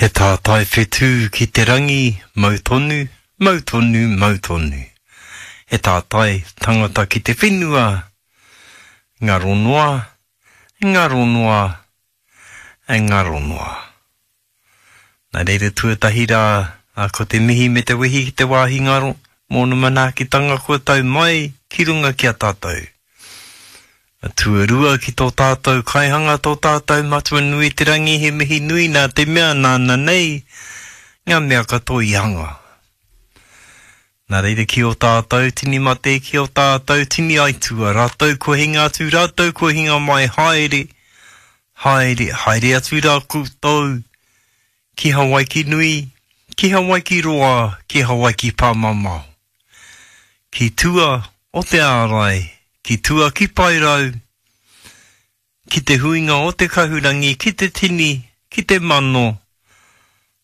He tātai whetū ki te rangi, mau tonu, mau tonu, mau tonu. He tātai tangata ki te whenua, ngaro noa, ngaro noa, ngaro noa. Nā reira tuatahi rā, ko te mihi me te wehi ki te wāhi ngaro, mōna manaakitanga kua tau mai ki runga ki a tātou. Tuarua ki tō tātou Kaihanga, tō tātou Matua nui te rangi, he mihi nui nā te mea nāna nei ngā mea katoa i hanga. Nā reira ki ō tātou tini mate, ki ō tātou tini aitua, rātou kua hinga atu, rātou kua hinga mai, haere, haere, haere atu rā koutou ki Hawaiki nui, ki Hawaiki roa, ki Hawaiki pāmamao. Ki tua o te ārai, ki tua ki Paerau, ki te huinga o te kahurangi, ki te tini, ki te mano,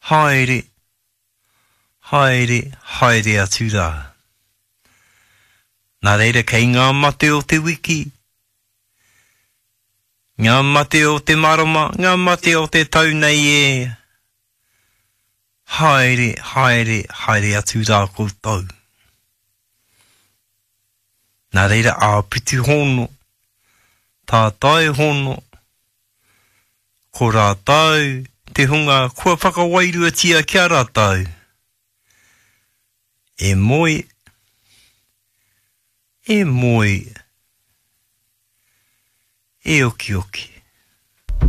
haere, haere, haere atu rā. Nā reira kei ngā mate o te wiki, ngā mate o te marama, ngā mate o te tau nei e, Haere, haere, haere atu rā koutou. Nā reira āpiti hono, tātai hono, ko rātou te hunga kua whakawairuatia ki a rātou. E moe, e moe, e okioki.